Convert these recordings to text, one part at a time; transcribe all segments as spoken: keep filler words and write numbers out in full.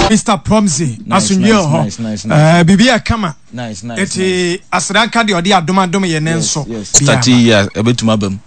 Mister Promsy, asomdwe wɔ hɔ, biribi yɛ kama. Eti aseda deɛ ɔde adom adom yɛ ne nso. Start yi a, ɛbɛtumi aba mu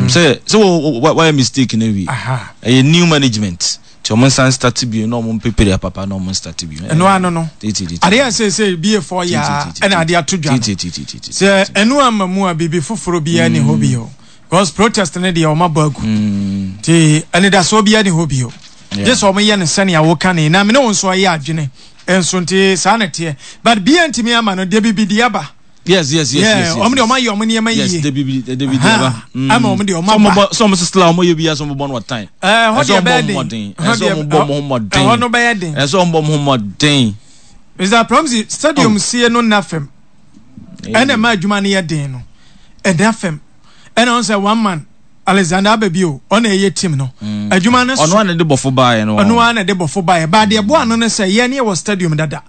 sɛ sɛ wɔyɛ mistake na wi ɛyɛ new management, nti ɔmo nsan start bio na ɔmo mpepere papa na ɔmo start bio. Ɛno ano no, adeɛ a sɛ bie fɔ yɛ a, ɛna adeɛ ato dwa no sɛ ɛno ama mu a, biribi foforɔ biara ni hɔ bio, because protest ne deɛ, ɔmo abɔ agu, nti ɛnidasoɔ biara ni hɔ bio gye sɛ ɔmo yɛ no sɛnea woka ne na mene wo nso ɔyɛ adwene nso. Nti saa na teɛ, but bia ntumi ama no deɛ, bibi deɛ aba. yes yes yes yes Ɔmo deɛ, ɔmo ayɛ ɔmo nneɛma yie. Yes, debi bi, debi deɛ aba. Ama ɔmo deɛ, ɔmo aba. Sɛ ɔmo sisi la, ɔmo yɛ bi ya sɛ ɔmo bɔ no wɔ time. Ɛɛ, hɔ deɛ bɛyɛ den. Ɛsɛ ɔmo bɔ ɔmo ho mmɔden. Ɛhɔ no bɛyɛ den. Ɛsɛ ɔmo bɔ ɔmo ho mmɔden. Mister Promsy, stadium sie no nna fam, ɛna ɛma adwuma no yɛ den no ɛnna fam, ɛna ɔn sɛ one man Alexander Ababio, ɔna ɛyɛ team no adwuma no so. Ɔno ana de bɔfo baayɛ no. Ɔno ana de bɔfo baayɛ baa deɛ boa no no sɛ yɛn ne wɔ stadium dada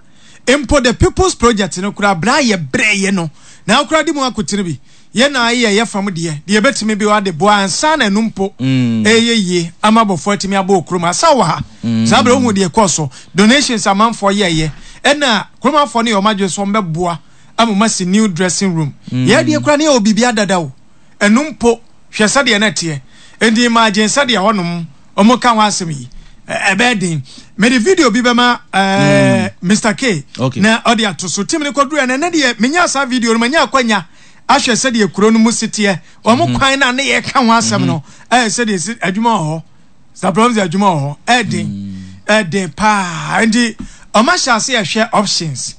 mpo. The People's Project no koraa, bra yɛ brɛ yɛ no na akora de mu akotene bi yɛn na ayɛ yɛ fam deɛ deɛ ebɛtumi bi wa de boa ansa na ɛno mpo ɛyɛ yie ama abɔfo atumi abɔ okurom asa wɔ ha. Saa bere ohun deɛ kɔɔ so, donations amanfoɔ yɛɛyɛ, ɛna kuromafoɔ no yɛ ɔmo adwene so ɔmo bɛboa ama ɔmo asi new dressing room. Yɛ deɛ koraa ne yɛ wɔ biribi adada o, ɛno mpo hwɛ sɛdeɛ na ɛteɛ. Nti imagine sɛdeɛ hɔnom ɔmo ka ho asɛm yi, ɛbɛyɛ den. Mede video bi bɛma ɛɛ Mister K Okay. na ɔde ato so. Team ne kɔduru ɛnɛ ne deɛ, menya saa video no, manya akwanya ahwɛ sɛdeɛ kuro no mu si teɛ, wɔn kwan na ne yɛ ka ho asɛm no, ɛyɛ sɛdeɛ si adwuma wɔ hɔ. Saprom sɛ adwuma wɔ hɔ, ɛɛden, ɛɛden paa. Nti ɔmo ahyɛ ase ɛhwɛ options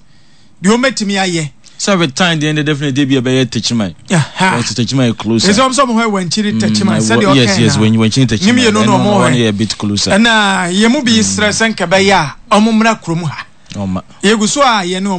deɛ ɔmɛtumi ayɛ. Sɛ with time deɛ, definitely bi ɛbɛyɛ Techiman. Aha. Because Techiman yɛ closer. Ɛsɛ ɔmo sɛ ɔmo hɔ Wankyiri Techiman sɛdeɛ ɔkɛn. yes yes when Wankyiri Techiman. Ne mmienu na ɔmo hɔ hɔ yɛ a bit closer. Ɛna yɛn mu bi srɛ sɛ nkɛbɛyɛ a, ɔmo mmra kurom ha. Ɔma yɛgu so a yɛne